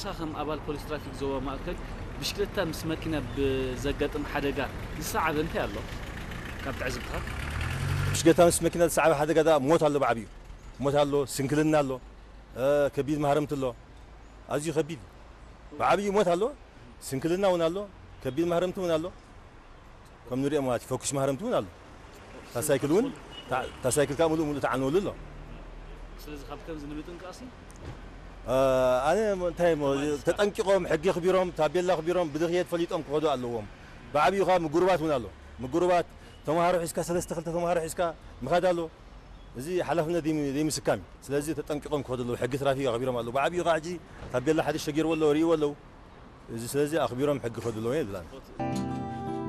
ንስኻ ከም ኣባል ፖሊስ ትራፊክ ዞባ ማእከል፣ ብሽክለታ ምስ መኪና ብዘጋጥም ሓደጋ ዝሰዓበ እንታይ ኣሎ? ካብ ትዕዝብትኻ? ብሽክለታ ምስ መኪና ዝሰዓበ ሓደጋ ዳ ሞት ኣሎ፣ ብዓብዩ ሞት ኣሎ፣ ስንክልና ኣሎ፣ እ፣ ከቢድ ማህረምቲ ኣሎ። ኣዝዩ ከቢድ እዩ። ብዓብዩ ሞት ኣሎ፣ ስንክልና እውን ኣሎ፣ ከቢድ ማህረምቲ እውን ኣሎ። ከም ንሪኦ ማለት እዩ፣ ፈኩሽ ማህረምቲ እውን ኣሎ። እታ ሳይክል እውን፣ እታ ሳይክል ከዓ ሙሉእ ሙሉእ ተዓንወሉ ኣሎ። ስለዚ ካብ ከምዚ ንምጥንቃቕሲ እ፣ ኣነ እንታይ እሞ፣ ተጠንቂቖም፣ ሕጊ ኣኽቢሮም፣ ታቤላ ኣኽቢሮም ብድኽየት ፈሊጦም ክኸዱ ኣለዎም። ብዓብዩ ከዓ ምጉርባት እውን ኣሎ። ምጉርባት ተምሃሮ ሒዝካ፣ ሰለስተ ክልተ ተምሃሮ ሒዝካ ምኻድ ኣሎ። እዚ ሓላፍነት ዘይም-፣ ዘይምስካም እዩ። ስለዚ ተጠንቂቖም ክኸዱ ኣለዉ። ሕጊ ትራፊክ ኣኽቢሮም ኣለዉ። ብዓብዩ ከዓ ሕጂ ታቤላ ሓደ ሸጊርዎ ኣለዉ፣ ርእይዎ ኣለዉ። እዚ ስለዚ ኣኽቢሮም ሕጊ ክኸዱ ኣለዎም እየ ዝብላ።